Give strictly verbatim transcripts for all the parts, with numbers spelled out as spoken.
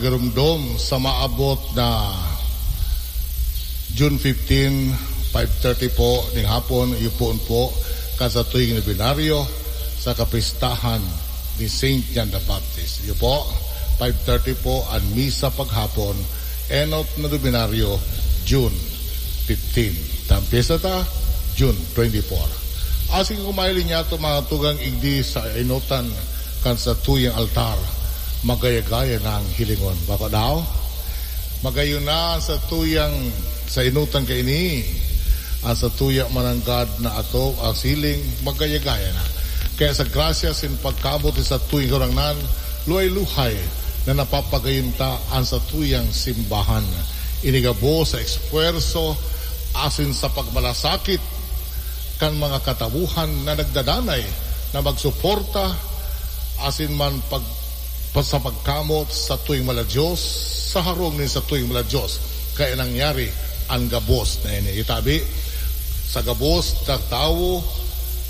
Garumdom sa maabot na June fifteen, five thirty po ning hapon, iyo poon po kan satuyang nobinaryo sa kapistahan ni Saint John the Baptist. Iyo po, five thirty po an misa paghapon, enot na nobinaryo, June fifteen. Tan pyesta ta, June twenty-four. Asin kung mahiling niyato, mga tugang, igdi sa enotan kan satuyang altar, magaya-gaya nang hilingon. Bako daw? Magayon na ang satuyang, sa enotan kaini, ang satuya mananggad na atop, ang siling, magaya-gaya na. Kaya sa grasya sin pagkaabot ni satuyang Kagurangnan, luhay-luhay na napapagayon ta an satuyang simbahan. Ini gabos sa espuwerso asin sa pagmalasakit kan mga katawohan na nagdadanay na magsuporta asin man pag, pa, sa pagkamot sa satuyang mala Dios, sa harong nin satuyang mala Dios. Kaya nangyari an gabos na ini. Itabi, sa gabos na tawo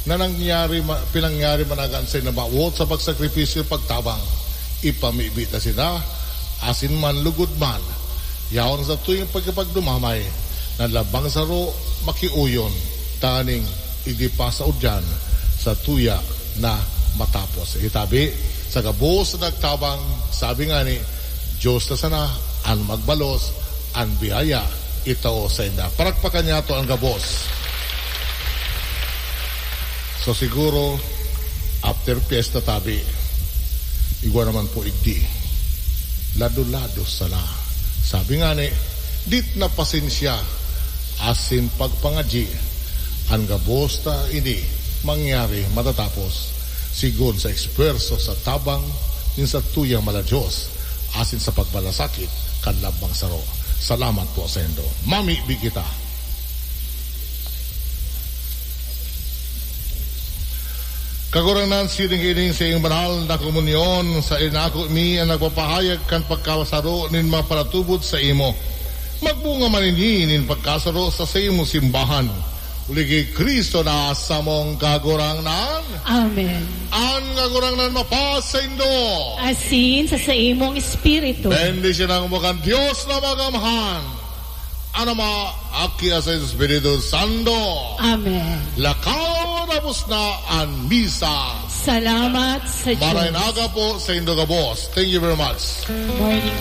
na nangyari, ma-, pinangyari managan sa inabawot sa pagsakripisyo, pagtabang, ipamibi ta sinda, asin man lugod man, yaon sa tuyang pagkapagdumamay, na labang saro makiuyon, taning igdi pa sa udyan, sa tuya na matapos. Itabi, sa gabos na nagtabang, sabi ngani, Diyos na sana an magbalos, an biyaya itao sainda. Parakpakan niyato an gabos. So, siguro, after pyesta tabi, igwa naman po igdi. Lado-lado sana. Sabi ngani, dit na pasensya, asin pagpangadyi, an gabos na ini mangyari matatapos, sigon sa espuwerso sa tabang nin satuyang mala Dios, asin sa pagmalasakit kan lambang saro. Salamat po saindo. Mamibi kita. Kagurangnan, siring ini sa iyong banal na komunyon, sa inako mi an nagpapahayag kan pagkasaro nin mga paratubod saimo. Magbunga man ini nin pagkasaro sa saimong simbahan. Uli ki Cristo na samong Kagurangnan. Amen. An Kagurangnan mapasaindo. Asin sa saimong espiritu. Bendisyonan mo kan Dios na Magamhan, an Ama, Aki, asin Espiritu Santo. Amen. Lakaw, tapos na an misa. Salamat sa Diyos. Maray na aga po saindo gabos. Thank you very much. Morning.